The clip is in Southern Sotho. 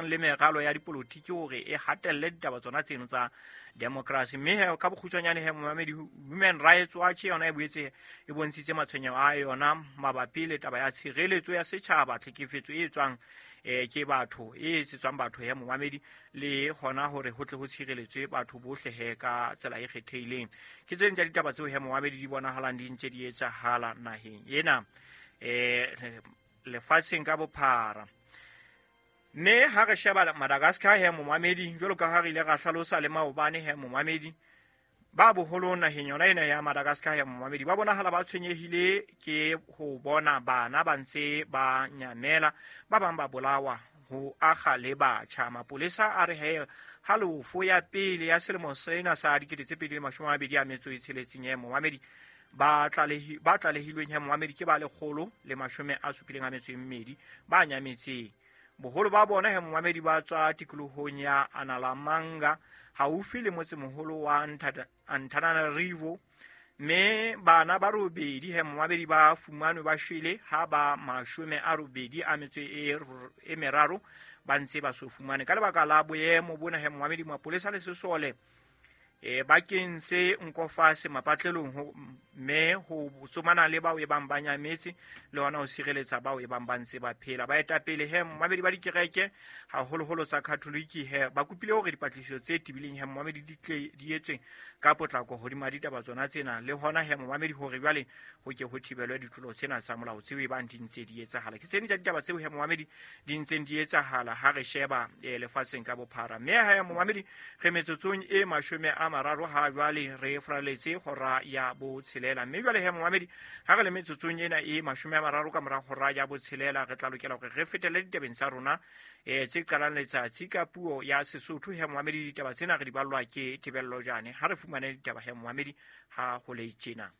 Le meralo ya dipolotiki hore e hatelle ditaba tsona tseno tsa democracy. Mme he ka bokgutshwanyane he momamedi, Human Rights Watch yona e boetse e bontshitse matshwenyeho a yona mabapi le taba ya tshireletso ya setjhaba, tlhekefetso e tswang ke batho, e etsetswang batho he momamedi, le hona hore ho tle ho tshireletswe batho bohle he ka tsela e kgethehileng. Ke tse ding tsa ditaba tseo he momamedi di bonahalang di ntse di etsahala naheng ena, lefatsheng ka bophara. Mme ha re sheba Madagascar he momamedi, jwalo ka ha re ile ra hlalosa le maobane he momamedi, ba boholong naheng yona ena ya Madagascar he momamedi ba bonahala ba tshwenyehile ke ho bona bana ba ntse ba nyamela, ba bang ba bolawa, ho akga le batjha. Mapolesa a re he halofo ya pele ya selemo sena sa 2026 he momamedi, ba tlalehilweng he momamedi ke ba 172 ba nyametseng. Boholo ba bona he momamedi ba tswa tikolohong ya Analamanga haufi le motsemoholo wa Antananarivo, mme bana ba robedi he momamedi ba fumanwe ba shwele ha ba 83 ba ntse ba so fumane. Ka lebaka la boemo bona he momamedi, mapolesa le sesole ba kentse nkofase mapatlelong mme ho tsomana le bao e bang ba nyametse le hona ho sireletsa bao e bang ba ntse ba phela. Baetapele he momamedi ba dikereke haholoholo tsa Katholiki he ba kopile hore dipatlisiso tse tebileng he momamedi di tle di etswe ka potlako hodima ditaba tsona tsena, le hona he momamedi hore jwale ho ke ho thibelwe ditlolo tsena tsa molao tseo e bang di ntse di etsahala. Ke tse ding tsa ditaba tseo he momamedi di ntseng di etsahala ha re sheba lefatsheng ka bophara. Mme he momamedi re metsotsong e 30 ha jwale re fraletse hora ya botshelela. Mme jwale he momamedi ha re le metsotsong ena e 30 ka mora hora ya botshelela, re tla lokela hore re fetele ditabeng tsa rona tse qalang letsatsi ka puo ya Sesotho. He momamedi ditaba tsena re di ballwa ke Tebello Jane. Ha re fumane ditaba he momamedi ha ho le tjena.